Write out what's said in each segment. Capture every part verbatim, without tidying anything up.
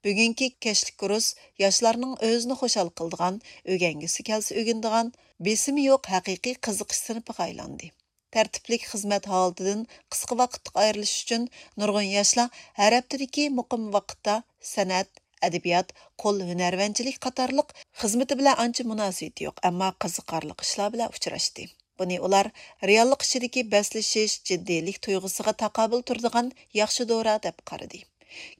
بۈگۈنكى كەچلىك كۇرس ياشلارنىڭ ئۆزىنى خۇشال قىلىدىغان، ئۆگەنگۈسى كەلسە ئۆگىنىدىغان، بېسىمى يوق ھەقىقىي قىزىقىش سىنىپىغا ئايلاندى. تەرتىپلىك خىزمەت ھالىتىدىن قىسقا ۋاقىتلىق ئايرىلىش ئۈچۈن نۇرغۇن ياشلار ھەر ھەپتىدىكى مۇقىم ۋاقىتتا سەنئەت، ئەدەبىيات، قول ھۈنەرۋەنچىلىك قاتارلىق خىزمىتى بىلەن ئانچە مۇناسىۋىتى يوق، ئەمما قىزىقارلىق ئىشلار بىلەن ئۇچراشتى. بۇنى ئۇلار رېئاللىق ئىچىدىكى بەسلىشىش، جىددىيلىك تۇيغۇسىغا تاقابىل تۇرىدىغان ياخشى دورا دەپ قارىدى.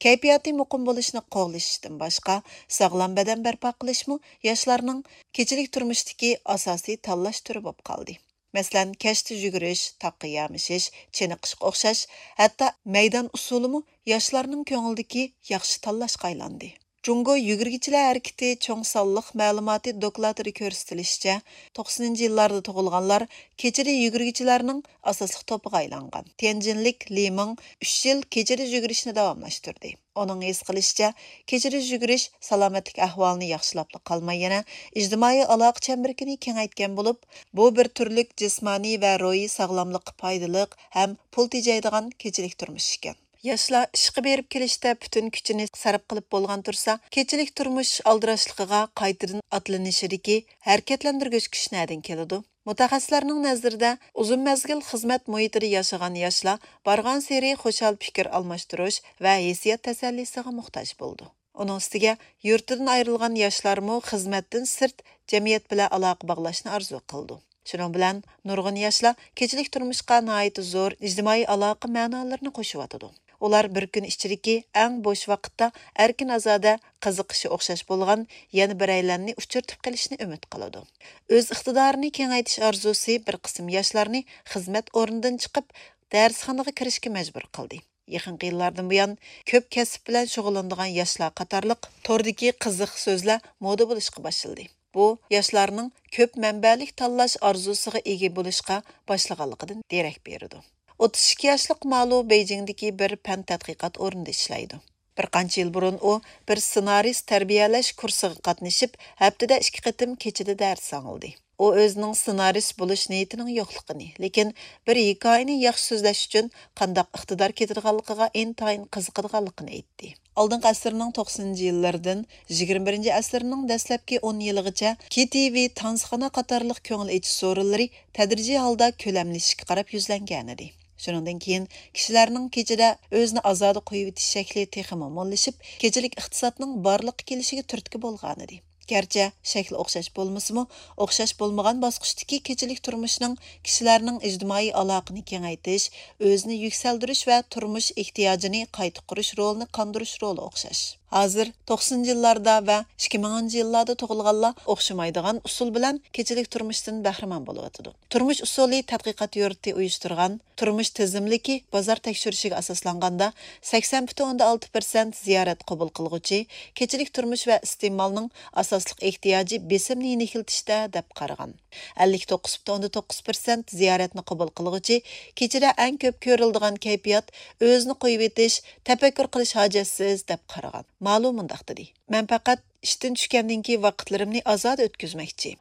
كەيپىياتى مۇقىم بولۇشنى قوغلىشىشتىن باشقا، ساغلام بەدەن بەرپا قىلىشمۇ ياشلارنىڭ كېچىلىك تۇرمۇشتىكى ئاساسىي تاللاش تۈرى بولۇپ قالدى. مەسىلەن، كەچتە يۈگۈرۈش، تاغقا يامىشىش، چېنىقىشقا ئوخشاش، ھەتتا مەيدان ئۇسسۇلىمۇ ياشلارنىڭ كۆڭلىدىكى ياخشى تاللاشقا ئايلاندى. جۇڭگو يۈگۈرگۈچىلەر ھەرىكىتى چوڭ سانلىق مەلۇماتى دوكلاتىدا كۆرسىتىلىشىچە، توقسىنىنچى يىللاردا تۇغۇلغانلار كېچىدە يۈگۈرگۈچىلەرنىڭ ئاساسلىق توپىغا ئايلانغان. تيەنجىنلىك لى مىڭ ئۈچ يىل كېچىدە يۈگۈرۈشنى داۋاملاشتۇردى. ئۇنىڭ ھېس قىلىشىچە، كېچىدە يۈگۈرۈش سالامەتلىك ئەھۋالىنى ياخشىلاپلا قالماي، يەنە ئىجتىمائىي ئالاقە چەمبىرىكىنى كېڭەيتكەن بولۇپ، بۇ بىر تۈرلۈك جىسمانىي ۋە روھىي ساغلاملىققا پايدىلىق ھەم پۇل تېجەيدىغان كېچىلىك تۇرمۇش ئىكەن. ياشلار ئىشقا بېرىپ كېلىشتە پۈتۈن كۈچىنى سەرپ قىلىپ بولغان تۇرسا، كېچىلىك تۇرمۇش ئالدىراشلىقىغا قايتىدىن ئاتلىنىشىدىكى ھەرىكەتلەندۈرگۈچ كۈچ نەدىن كېلىدۇ؟ مۇتەخەسسىسلەرنىڭ نەزىرىدە، ئۇزۇن مەزگىل خىزمەت مۇھىتىدا ياشىغان ياشلار بارغانسېرى خۇشال پىكىر ئالماشتۇرۇش ۋە ھېسسىيات تەسەللىسىغا موھتاج بولىدۇ. ئۇنىڭ ئۈستىگە، يۇرتىدىن ئايرىلغان ياشلارمۇ خىزمەتتىن سىرت جەمئىيەت بىلەن ئالاقە باغلاشنى ئارزۇ قىلىدۇ. شۇنىڭ بىلەن نۇرغۇن ياشلار كېچىلىك تۇرمۇشقا ناھايىتى زور ئىجتىمائىي ئالاقە مەنالىرىنى قوشۇۋاتىدۇ. ئۇلار بىر كۈن ئىچىدىكى ئەڭ بوش ۋاقىتتا ئەركىن-ئازادە قىزىقىشى ئوخشاش بولغان يەنە بىرەيلەننى ئۇچرىتىپ قېلىشنى ئۈمىد قىلىدۇ. ئۆز ئىقتىدارىنى كېڭەيتىش ئارزۇسى بىر قىسىم ياشلارنى خىزمەت ئورنىدىن چىقىپ، دەرسخانىغا كىرىشكە مەجبۇر قىلدى. يېقىنقى يىللاردىن بۇيان، كۆپ كەسىپ بىلەن شۇغۇللىنىدىغان ياشلار قاتارلىق توردىكى قىزىق سۆزلەر مودا بولۇشقا باشلىدى. بۇ ياشلارنىڭ كۆپ مەنبەلىك تاللاش ئارزۇسىغا ئىگە بولۇشقا باشلىغانلىقىدىن دېرەك بېرىدۇ. ئوتتۇز ئىككى ياشلىق مالۇ بېيجىڭدىكى بىر پەن تەتقىقات ئورنىدا ئىشلەيدۇ. بىر قانچە يىل بۇرۇن ئۇ بىر سېنارىست تەربىيەلەش كۇرسىغا قاتنىشىپ، ھەپتىدە ئىككى قېتىم كېچىدە دەرس ئاڭلىدى. ئۇ ئۆزىنىڭ سېنارىست بولۇش نىيىتىنىڭ يوقلۇقىنى، لېكىن بىر ھېكايىنى ياخشى سۆزلەش ئۈچۈن قانداق ئىقتىدار كېتىدىغانلىقىغا ئىنتايىن قىزىقىدىغانلىقىنى ئېيتتى. ئالدىنقى ئەسىرنىڭ توقسىنىنچى يىللىرىدىن يىگىرمە بىرىنچى ئەسىرنىڭ دەسلەپكى ئون يىلىغىچە كېي تى ۋى، تانسىخانا قاتارلىق كۆڭۈل ئېچىش سورۇنلىرى تەدرىجىي ھالدا كۆلەملىشىشكە قاراپ يۈزلەنگەنىدى. شۇنىڭدىن كېيىن كىشىلەرنىڭ كېچىدە ئۆزىنى ئازادە قويۇۋېتىش شەكلى تېخىمۇ موللىشىپ، كېچىلىك ئىقتىسادنىڭ بارلىققا كېلىشىگە تۈرتكە بولغانىدى. گەرچە شەكلى ئوخشاش بولمىسىمۇ، ئوخشاش بولمىغان باسقۇچتىكى كېچىلىك تۇرمۇشنىڭ كىشىلەرنىڭ ئىجتىمائىي ئالاقىنى كېڭەيتىش، ئۆزىنى يۈكسەلدۈرۈش ۋە تۇرمۇش ئېھتىياجىنى قايتا قۇرۇش رولىنى قاندۇرۇش رولى ئوخشاش. ھازىر توقسىنىنچى يىللاردا ۋە ئىككى مىڭىنچى يىللاردا تۇغۇلغانلار ئوخشىمايدىغان ئۇسۇل بىلەن كېچىلىك تۇرمۇشتىن بەھرىمەن بولۇۋاتىدۇ. تۇرمۇش ئۇسۇلى تەتقىقات يۇرتى ئۇيۇشتۇرغان تۇرمۇش تىزىملىكى بازار تەكشۈرۈشىگە ئاساسلانغاندا، سەكسەن پۈتۈن ئوندىن ئالتە پىرسەنت زىيارەت قوبۇل قىلغۇچى كېچىلىك تۇرمۇش ۋە ئىستېمالنىڭ ئاساسلىق ئېھتىياجى بېسىمنى يېنىكلىتىشتە دەپ قارىغان. ئەللىك توققۇز پۈتۈن ئوندىن توققۇز پىرسەنت زىيارەتنى قوبۇل قىلغۇچى كېچىدە ئەڭ كۆپ كۆرۈلىدىغان كەيپىيات ئۆزىنى قويۇۋېتىش، تەپەككۇر قىلىش ھاجەتسىز دەپ قارىغان. مالۇ مۇنداق دېدى: مەن پەقەت ئىشتىن چۈشكەندىن كېيىن ۋاقىتلىرىمنى ئازادە ئۆتكۈزمەكچى.